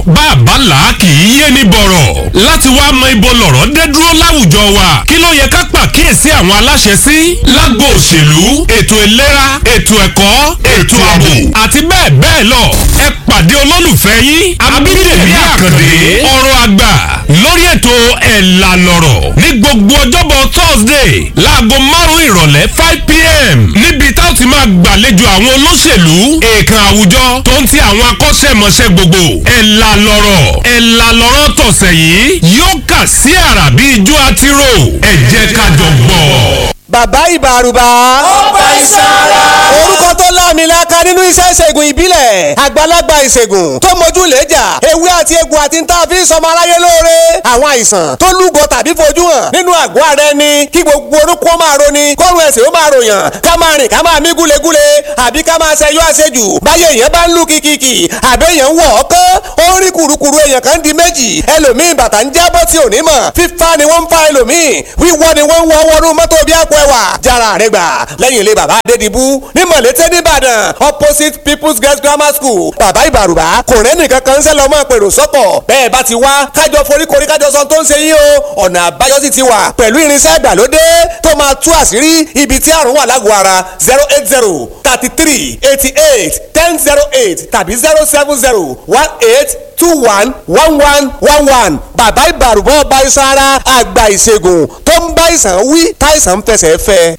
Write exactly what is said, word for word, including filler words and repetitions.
Lọ̀rọ̀ bàbá là kì í yé ní bọ̀rọ̀. Láti wá mọ ibo lọ̀rọ̀ dé dúró láwùjọ wa, kí ló yẹ ká pàkíyèsí àwọn aláṣẹ sí lágbo òṣèlú, ètò ìlera, ètò ẹ̀kọ́, ètò ààbò àti bẹ́ẹ̀ bẹ́ẹ̀ lọ. Ẹ pàdé olólùfẹ́ yín Abídèmí Àkàndé, ọ̀rọ̀ àgbà, lórí ètò Ẹ̀là Lọ̀rọ̀ ní gbogbo ọjọ́bọ̀ Thursday láago márùn-ún ìrọ̀lẹ́ five pm, níbi tá ó ti máa gbàlejò àwọn olóṣèlú, èèkàn àwùjọ tó ń ti àwọn akọ́ṣẹ́mọṣẹ́ gbogbo. Ẹ̀là Lọ̀rọ̀, Ẹ̀là Lọ̀rọ̀ tọ̀sẹ̀ yìí yóò kà sí àrà bí ijó àtirò. Ẹ jẹ́ ká jọ gbọ́. Bàbá Ìbàrùbà. Ọba ìsara. Orúkọ tó láàmìlaka nínú iṣẹ́ ìṣègùn ìbílẹ̀, àgbàlagbà ìṣègùn tó mojú lẹ́jà, ewé àti egbò àti ń tá a fi ń sọmọ aráyé lóore. Àwọn àìsàn tó lúgọ tàbí fojú hàn nínú àgọ́ ara ẹni, kí gbogbo orúkọ máa roni, kọ́run ẹ̀sìn ó máa ròyàn, ká máa rìn ká máa mí gúlegúle, àbí ká máa ṣẹyọ àṣejù báyé èèyàn bá ń lù kìkìkì, àbí èèyàn ń wọ̀ ọ́kán, ó ń rí kùrukùru, èèyàn kan di méjì, ẹlòmíì bàtà ń jábọ́ tí ò ní mọ̀, fífa ni wọ́n ń fa ẹlòmíì, wíwọ́ ni wọ́n ń wọ́ wọnú mọ́tò bí àpò ẹwà. Jára rẹ gbà lẹ́yìn ilé bàbá Adédìbú ní Mọ̀lété nìbàdàn, opposite People's Girls Grammar School. Bàbá Ìbàrùbá kò rẹ́ nìkan kan ń sẹ́ lọ́mọ pèrò sọ́kọ̀. Bẹ́ẹ̀ bá ti wá, kájọ foríkorí, kájọ sọ tó ń ṣe yín o. Ọ̀nà àbáyọ sì ti wà pẹ̀lú irinṣẹ́ ìgbàlódé tó máa tú àṣírí ibi tí àrùn wà lágọ̀ọ́ ara. Zero eight zero thirty three eighty eight ten zero eight tàbí zero seven zero one eight two one one one one one. Bàbá Ìbàrùbá, ọba iṣan ara, àgbà ìṣègùn tó ń bá ìsàn wí táìsàn ń fẹsẹ̀ fẹ́.